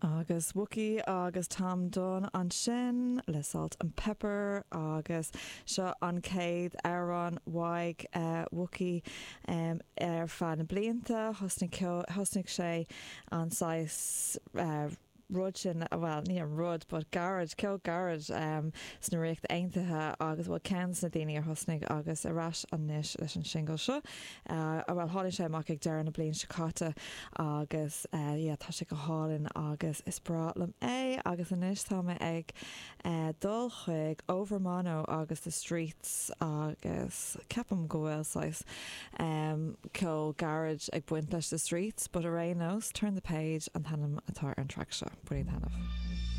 Agus Wuki agus Tom Dunne ansin le Salt and Pepper agus seo an chéad amhrán uaidh Wuki ar feadh na blianta. Thosnaigh thosnaigh sé an saghas rud sin, bhuel ní an rud but garage, ceol garage sna Ríocht Aontaithe agus bhuel ceann de na daoine a thosnaigh agus ar ais anois leis an singil seo. Bhuel tháinig sé amach ag deireadh na bliana seo caite agus yeah tá sé go hálainn agus is breá liom é agus anois tá mé ag dul chuig Overmono agus The Streets agus ceapaim go bhfuil saghas ceol garage ag baint leis The Streets but ar aon nós Turn the Page an t-ainm atá ar an track seo. Bain taitneamh.